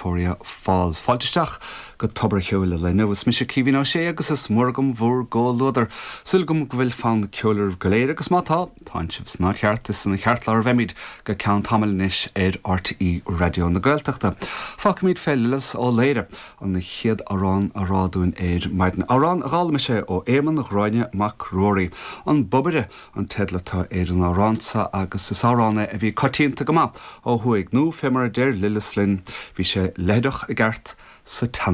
Victoria Falls. Fáilte isteach go Tobar a' Cheoil an lae inniu. Is mise Caoimhín Ó Sé agus is mór agam bhúr gcomhluadar. Súil agam go bhfuil fonn ceoil oraibh go léir agus má tá, tánn sibh san áit cheart, is ina cheartlár a bheimid go ceann tamaill anois ar RTÉ Raidió na Gaeltachta. Fágfaimid fé Lillis Ó Laoire an chéad amhrán a rá dúinn ar maidin. Amhrán a d'fhoghlaim sé ó Éamonn Ghráinne Mac Ruairí. An Bobaire an teideal atá ar an amhrán seo agus is amhrán é a bhí coitianta go maith ó thuaidh, nó fé mar a deir Lillis linn, bhí sé leitheadach i gceart sa tsean.